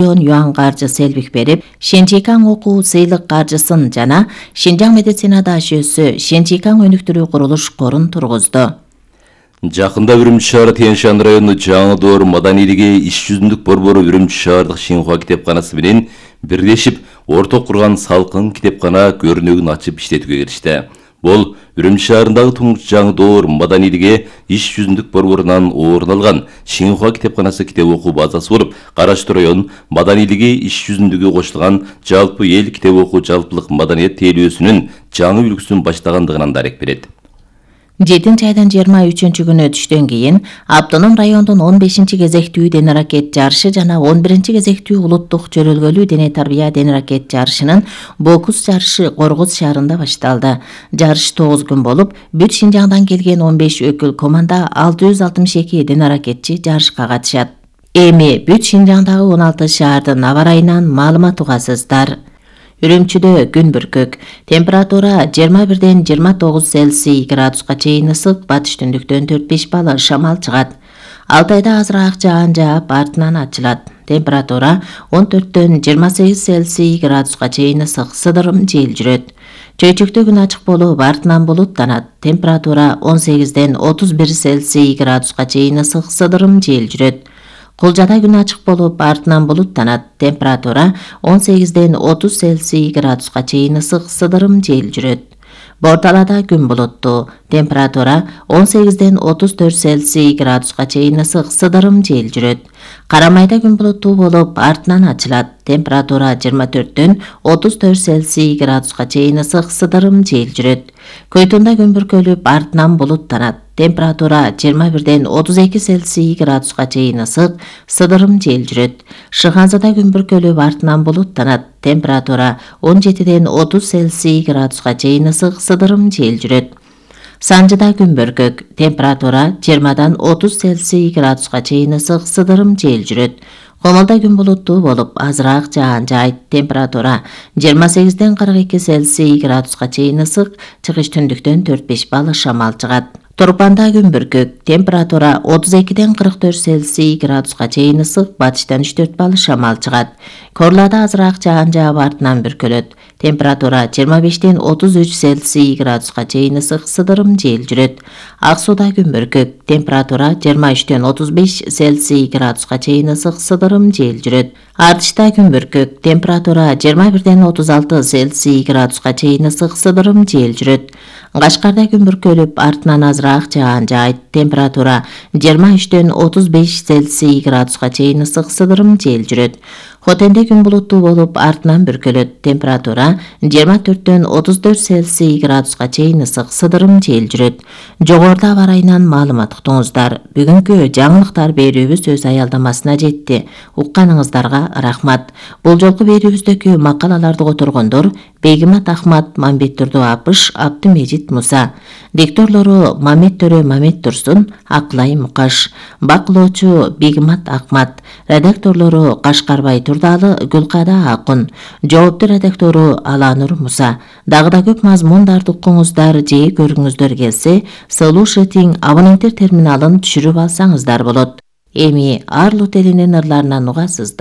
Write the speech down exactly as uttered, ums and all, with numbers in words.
миллион юан каржы селбик берип, Шенжикаң окуу сыйлык каржысын жана Шинжаң медицина дашөөсү Шенжикаң өнүктүрүү курулуш корун тургузду. Жакында Үрүмчү шаары Тянь-Шань району Жаңы Доор маданийлиги иш жүзүндүк борбору Үрүмчү шаардык Шинхуа китепканасы менен бирлешип орток курган салкын китепкана көрүнөгүн ачып иштетүүгө киришти. Бул Үрүмчү шаарындагы туңгуч Жаңы Доор маданийлиги иш жүзүндүк борборунан орун алган Шинхуа китепканасы китеп окуу базасы болуп, Караштуу район маданийлиги иш жүзүндүгү кошулган жалпы эл китеп окуу жалпылык маданият тейлөөсүнүн жаңы үлгүсүн баштагандыгынан дарек берет. жетинчи айдын жыйырма үчүнчү күнү түштөн кийин Автоном райондун он бешинчи кезектүү дене аракет жарышы жана он биринчи кезектүү улуттук жөрөлгөлүү дене тарбия дене аракет жарышынын бокус жарышы Коргуз шаарында башталды. Жарыш тогуз күн болуп, бүт Шинжаңдан келген он беш өкүл команда алты жүз алтымыш эки дене аракетчи жарышка катышат. Эми бүт Шинжаңдагы он алты шаардын аба ырайынан маалымат угасыздар. Үрүмчүдө күн бүркөк, температура жыйырма бирден жыйырма тогуз Цельсий градуска чейин ысык, батыш түндүктөн төрт беш балл шамал чыгат. Алтайда азыраак жаан жаап, артынан ачылат. Температура он төрттөн жыйырма сегиз Цельсий градуска чейин ысык, сыдырым жел жүрөт. Чөйчөктө күн ачык болуп, артынан булуттанат. Температура он сегизден отуз бир Цельсий градуска чейин ысык, сыдырым жел жүрөт. Кулжада күн ачык болуп, артынан булуттанат. Температура он сегизден отуз Цельсий градуска чейин ысык, сыдырым жел жүрөт. Борталада күн булуттуу. Температура он сегизден отуз төрт Цельсий градуска чейин ысык, сыдырым жел жүрөт. Карамайда күн булуттуу болуп, артынан ачылат. Температура жыйырма төрттөн отуз төрт Цельсий градуска чейин ысык, сыдырым жел жүрөт. Көйтүндө күн бүркөлүп, артынан булуттанат. Температура жыйырма бирден отуз эки Цельсий градуска чейин ысык, сыдырым жел жүрөт. Шыгансада күн бүркөлүп, артынан булуттанат. Температура он жетиден отуз Цельсий градуска чейин ысык, сыдырым жел жүрөт. Санжыда күн бүркөк, температура жыйырмадан отуз Цельсий градуска чейин ысык, сыдырым жел жүрөт. Комолдо күн булуттуу болуп, азыраак жаан жаайт. Температура жыйырма сегизден кырк эки Цельсий градуска чейин ысык, чыгыш түндүктөн төрт беш балл шамал чыгат. Турпанда күн бүркөк, температура отуз экиден кырк төрт Цельсий градуска чейин ысык, батыштан үч төрт балл шамал чыгат. Корлада азыраак жаан жаап, артынан бүркөлөт. Температура жыйырма бештен отуз үч Цельсий градуска чейин ысык, сыдырым жел жүрөт. Ак сууда күн бүркөк, температура жыйырма үчтөн отуз беш Цельсий градуска чейин ысык, сыдырым жел жүрөт. Артышта күн бүркөк, температура жыйырма бирден отуз алты Цельсий градуска чейин ысык, сыдырым жел жүрөт. Кашкарда күн бүркөлүп, артынан азыраак жаан жаайт. Температура жыйырма үчтөн отуз беш Цельсий градуска чейин ысык, сыдырым жел жүрөт. Хотенде күн булуттуу болуп, артынан бүркөлөт. Температура жыйырма төрттөн отуз төрт Цельсий градуска чейин ысык, сыдырым жел жүрөт. Жогоруда аба ырайынан маалымат уктуңуздар. Бүгүнкү жаңылыктар берүүбүз өз аялдамасына жетти. Укканыңыздарга рахмат. Бул жолку берүүбүздөгү макалаларды которгондор Бегимат Ахмат, Мамбет Турду Апыш, Абдымежит Муса. Дикторлору Мамет Төрө Мамет Турсун, Аклай Мукаш. Бакылоочу Бегимат Ахмат. Редакторлору Кашкарбай Турдалы, Гүлкада Акун. Жоопту редактору Аланур Муса. Дагы да көп мазмундарды укуңуздар, же көргүңүздөр келсе, Слушатиң абоненттер терминалын түшүрүп алсаңыздар болот. Эми Арлу телинин ырларынан угасыздар.